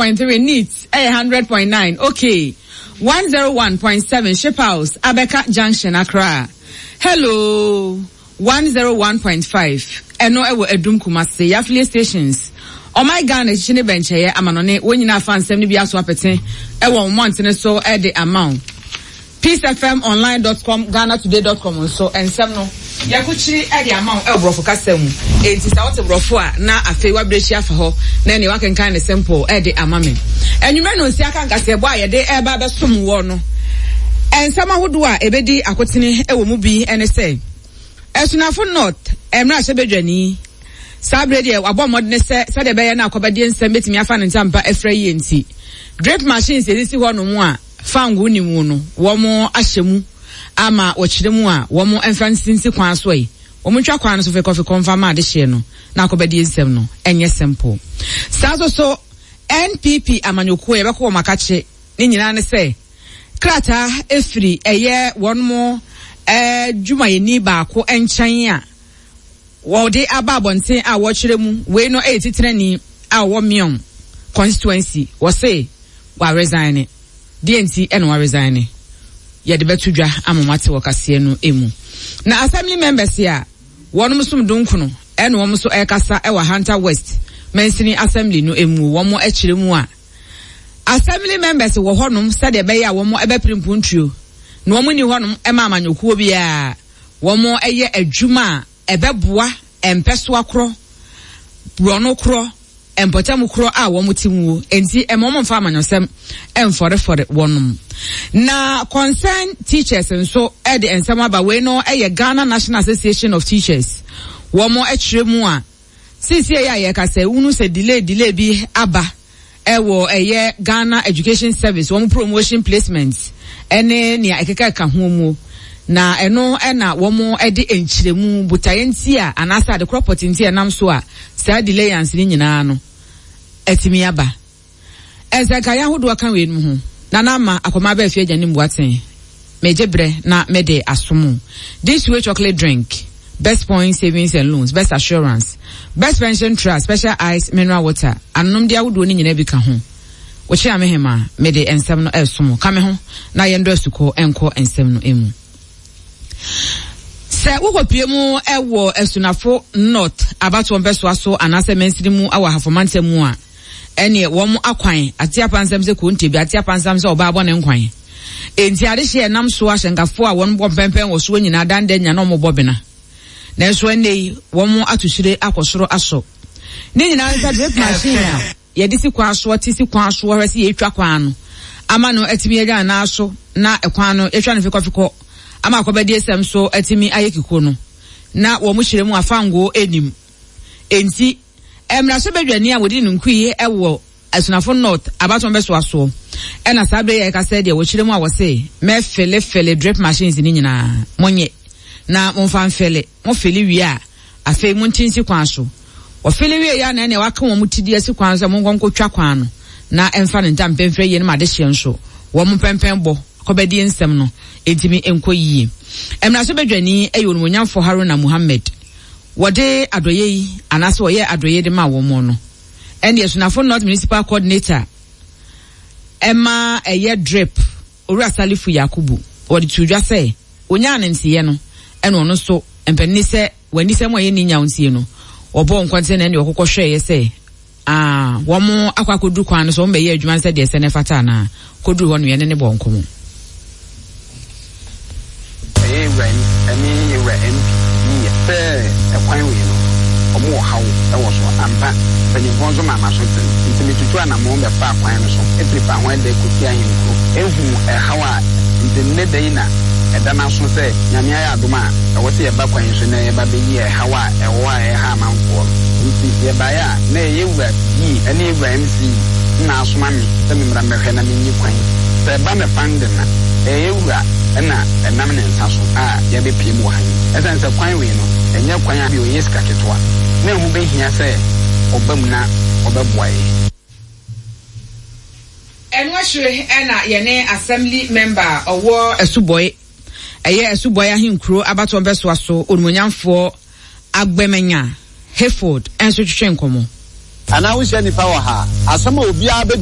104.3 Neat ɛyɛ 100.9 Okay 101.7 Ship House Abɛka Junction Accra Hello 101.5 ɛno ɛwɔ Adum Kumasi Yɛ affiliate stations Ɔman Ghana akyikyi ne bɛnkyɛeɛ amanɔne wɔn nyinaa afa nsɛm no bi aso apete ɛwɔ wɔn mmɔntene so de ama wo. Peacefmonline dot com, Ghanatoday dot com nso, nsɛm no, yɛakukyiri de ama wo wɔ Borɔfo kasa mu. Enti sɛ wote Borɔfo a, na afei woabirekyi afa hɔ na ɛneɛ woakenkan no simple de ama me. Anwummerɛ nnɔnsia aka nkaseɛbɔ a yɛde reba abɛsom woɔ no, nsɛm ahodoɔ a ɛbɛdi akotene wɔ mu bi ne sɛ, Asunafo North mmarahyɛbadwani, saa berɛ deɛ wabɔ mmɔdene sɛ sɛdeɛ ɛbɛyɛ na akɔbɛdeɛ nsɛm bɛtumi afa ne ntampa afira yie nti, drip machines ɛsisi hɔnom a, Fangoo nni mu no, wɔahyɛ mu ama wɔkyerɛ mu a, wɔmfa nsinsi kwan so ɛ. Wɔntwa kwan no so fekɔfekɔ mfa mma adehyeɛ no na akɔbɛdie nsɛm no nyɛ simple. Saa nso so NPP amanyɔkuo yɛbɛkɔ wɔn akakye ne nyinaa ne sɛ krataa firi ɛyɛ wɔn dwumayɛni baako nkyɛn a wɔde aba abɔnten a wɔkyerɛ mu wei no yɛ titenani a ɔwɔ Mion constituency wɔse wa resigne. Deɛ nti na wa resigne? Yɛde bɛto dwa ama moate wɔ kaseɛ no mu. Na assembly members a wɔnom som donkono ɛna wɔn nso ɛrekasa wɔ Ahanta West mansini assembly no mu wɔn kyerɛ mu a assembly members wɔ hɔnom sɛdeɛ ɛbɛyɛ a wɔn ɛbɛpere mpuntuo na wɔn nni hɔnom ɛma amanyɔkuo biara wɔn ɛyɛ adwuma a ɛbɛboa mpɛsoa korɔ borɔno korɔ mpɔtam korɔ a wɔn te muo enti ɛma wɔn mfa amanyɔsɛm mfɔrefɔre wɔnom. Na concern teachers nso de nsɛm aba wei no yɛ Ghana National Association of Teachers wɔn kyerɛ mu a seesie yɛ a yɛka sɛ wunu sɛ delay delay bi aba ɛwɔ ɛyɛ Ghana Education Service wɔn promotion placement ɛne nea ɛkeka ho mu na ɛno ɛna wɔn ɛde nkyerɛmu botaeɛ nti a anaasɛ adekorɔ pɔte nti a ɛnam so a saa delayance no nyinaa no atumi aba. Nsɛnkaeɛ ahodoɔ ka weinom ho. Nana Ama Akɔma Abɛɛfie Agya Nim Boateng, Megye berɛ na mede asom wo. This Way Chocolate Drink, Best Point Savings and Loans, Best Assurance, Best Pension Trust, Special Ice Mineral Water, anonomdeɛ ahodoɔ no nyinaa bi ka ho. Wokyea me hemaa, mede nsɛm no resom wo. Ka me ho na yɛndɔ asukɔ nkɔ nsɛm no mu. Sɛ wokɔpue mu wɔ Asunafo North abatoɔ mpɛsoa so anaasɛ mansini mu wɔ Ahafo mantam mu a, ɛneɛ wɔn akwan ate apansam sɛ konte bi ate apansam sɛ ɔbaa bɔ ne nkwan. Enti adehyeɛ ɛnam so ahyɛnkafoɔ a wɔn bɔ mpɛmpɛn wɔ soɔ nyinaa dan da nya na wɔn bɔ bena. Nanso ɛnnɛ yi wɔn ato hyire akɔ soro asɔ. Ne nyinaa ne sɛ drip machine a yɛde si kwan soɔ te si kwan soɔ hwɛ sɛ yɛretwa kwan no ama no atumi agya ne nan so na kwan no yɛtwa no fekɔfekɔ ama akɔbɛdiesɛm so atumi ayɛ kiko no na wɔn hyerɛ mu afango nnim. Enti mmarahyɛbadwani a wɔdi ne nkui wɔ Asunafo North abatoɔ bɛsoa soɔ ɛna saa berɛ yi a yɛka sɛ deɛ wɔkyerɛ mu a wɔse mɛfelefele drip machines no nyinaa monyɛ na momfa mfele mofele wie a Afei monte nsi kwan so. Wɔfele wieeɛ a na ɛnneɛ wɔaka wɔn ti de asi kwan so sɛ monkɔ nkɔtwa kwan no na ɛmfa ne ntam mpɛmfrɛ yie no ma adehyeɛ nso wɔn mpɛmpɛn bɔ kɔbɛdie nsɛm no ntumi nkɔ yie. Mmarahyɛbadwani yɛ Onimuonyamfoɔ Haruna Muhammed. Wɔde adɔeɛ yi anaasɛ wɔyɛɛ adɔeɛ yi de maa wɔn no ɛnneɛ Sunafo North Municipal Coordinator ɛma ɛyɛ drip Owura Salifu Yakubu, wɔde too dwa sɛ onyaa ne nteyɛ no ɛna ɔno nso mpanin sɛ w'anisɛm a ɛyɛ ne nyaw ntie no, wɔbɔɔ nkɔnten na ɛne ɔkokɔ hwɛeɛ sɛ aa wɔn akɔ akɔduru kwan no so wɔn bɛyɛ adwuma no sɛdeɛ ɛsɛ na ɛfata anaa, kɔduru hɔ no yɛne ne bɔɔ nkɔmmɔ. Ɛyɛ yɛwura ɛne yɛwura MP yiyɛ sɛ ɛkwan wei no ɔmo wɔ haw wɔ so ampa mpanyinfoɔ nso maa maso tem nti me tutu anamɔn bɛ faa kwan no so firi fa ho ɛdɛ kɔsi ahenkuro ehu ɛhaw a nti nnɛ da yi na ɛda n'aso sɛ Nyame ayɛ adom a ɛwɔ sɛ yɛba kwan yi so na yɛba bɛyi ɛhaw a ɛwɔ a ɛha amanfoɔ no nti yɛbaeɛ a na ɛyɛ wura yie ɛne yɛwura MC na asoma me sɛ me mmra mmɛhwɛ na menyi kwan sɛ ɛba me funding a ɛyɛ wura na ɛnam ne nsa so a yɛabɛpue mu wɔ ha yi. Ɛsiane sɛ kwan wei no, ɛnyɛ kwan a bio ɛyɛ sika ketewa, na ɛho bɛhia sɛ ɔba mu na ɔbɛboa yɛn. Ɛno akyire na yɛne Assembly Member a ɔwɔ Asubɔe, ɛyɛ Asubɔe Ahenkuro abatoɔ mpɛsoa so Onimuonyamfoɔ Agbemenya Hayford nso twetwe nkɔmmɔ. Anaa wohyia nnipa wɔ ha a, asɛm a obiara bɛbisa.